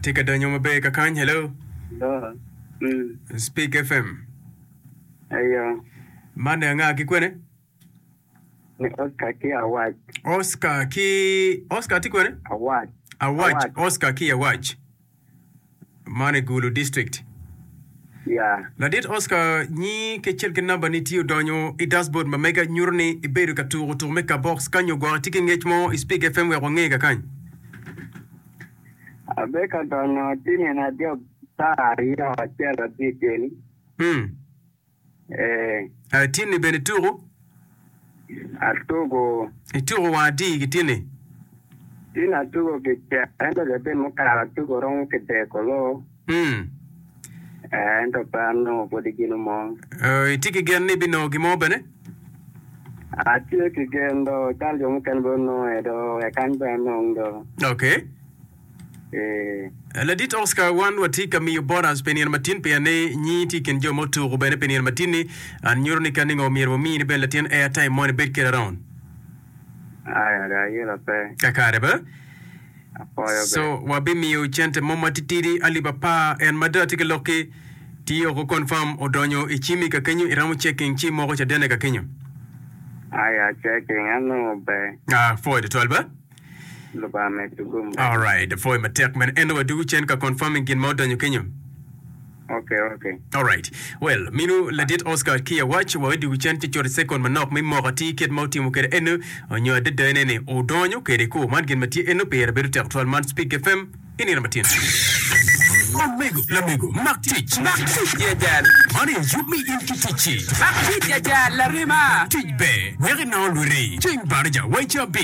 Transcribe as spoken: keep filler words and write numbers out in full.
Tye ka donyo maber kakany. Hello. Hello. Mm. Speak F M. Ayo. Man anga ki kwene? Ni Oscar ki Awac. Oscar ki Oscar tye kwene? Awac. Awac. Awac. Oscar ki Awac. Man i Gulu district. Yeah. Ladit Oscar nyi kecel ki namba ni tye odonyo i dashboard ma mega nyuto ni ibedo ka tuko tuko me kabox ka nyo gwok itye ki ngec mo i Speak F M wek wange kakany. Abe ka donyo tye nino adek saa aryo acel abicel. Hmm. Eh, Uh, tinni bene tuko? Atugo. Ituko wang adi ki tinni? Tin atugo kicel ento latin mukato atugo romo kidek olo. Hmm. Eh, ento pe anongo pwodi gino mo. Uh, itye ki gen ni ibinongo gin mo bene? Atye ki gen do cal jo mukene bene onongo do wek an bene anong do. Okay. Eh, Ladit Oscar wan watye ka miyo bonus pi nino matin pien ni nyi tye i kin jo ma otuko bene pi nino matin-ni an nyuto ni ka ningo myero wamini bene latin airtime moni bed kede around. Aya do ayelo pe. Kakare ba? Apoyo be. So wabimiyo cente mo matitidi alip apar en mada tye ki lokki tye oko confirm odonyo i cimi ka kenyo iromo checking ci moko cadene ka kenyo. Aya checking anongo be. Ah, four to twelve ba? Lubanga medo gum be. Alright, four matek men eno wadugu cen ka confirming gin ma odonyo kenyo. Okay, okay. Alright. Well, minu ladit Oscar ki awac wa wadugu cen ci coti second manok mi moko ati kit ma otimo kede eno onyo adada ene ni odonyo kede ku man gin ma tye eno pire bedo tek twal man Speak F M inino matin. Omego, lamego, mak tic. Mak tic jajal. Man aye yub mi in ki ticci. Mak tic jajal larima. Tic ber, wek inongo lwiri. Ceng baraja waica abic.